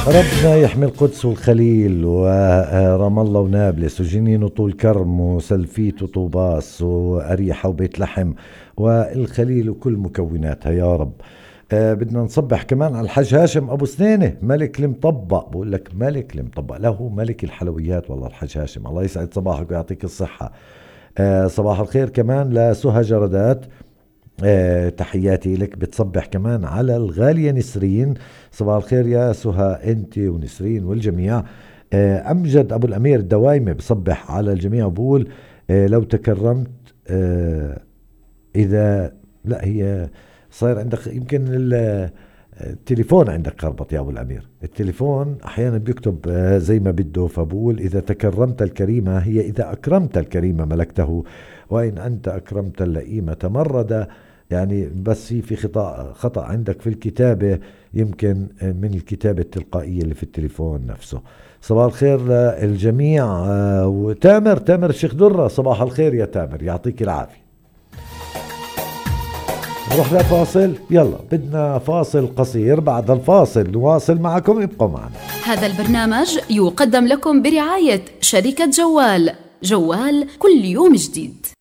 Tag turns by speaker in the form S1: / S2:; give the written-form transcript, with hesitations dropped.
S1: ربنا يحمي القدس والخليل ورام الله ونابلس وجنين وطول كرم وسلفيت وطوباس وأريحة وبيت لحم والخليل وكل مكوناتها يا رب. بدنا نصبح كمان على الحاج هاشم أبو سنينة ملك المطبق. بقول لك ملك المطبق، له ملك الحلويات والله الحاج هاشم، الله يسعد صباحك ويعطيك الصحة. صباح الخير كمان لسهى جردات، تحياتي لك. بتصبح كمان على الغالية نسرين، صباح الخير يا سهى انت ونسرين والجميع. أمجد أبو الأمير الدوايمة بصبح على الجميع وبقول لو تكرمت إذا لا هي صاير عندك يمكن التليفون عندك خربط يا أبو الأمير، التليفون أحيانا بيكتب زي ما بده، فبقول إذا تكرمت الكريمة هي إذا أكرمت الكريمة ملكته وإن أنت أكرمت اللئيمة تمرد. يعني بس في خطأ عندك في الكتابة، يمكن من الكتابة التلقائية اللي في التليفون نفسه. صباح الخير للجميع. وتامر الشيخ درة، صباح الخير يا تامر، يعطيك العافية. نروح لفاصل، يلا بدنا فاصل قصير، بعد الفاصل نواصل معكم، ابقوا معنا.
S2: هذا البرنامج يقدم لكم برعاية شركة جوال كل يوم جديد.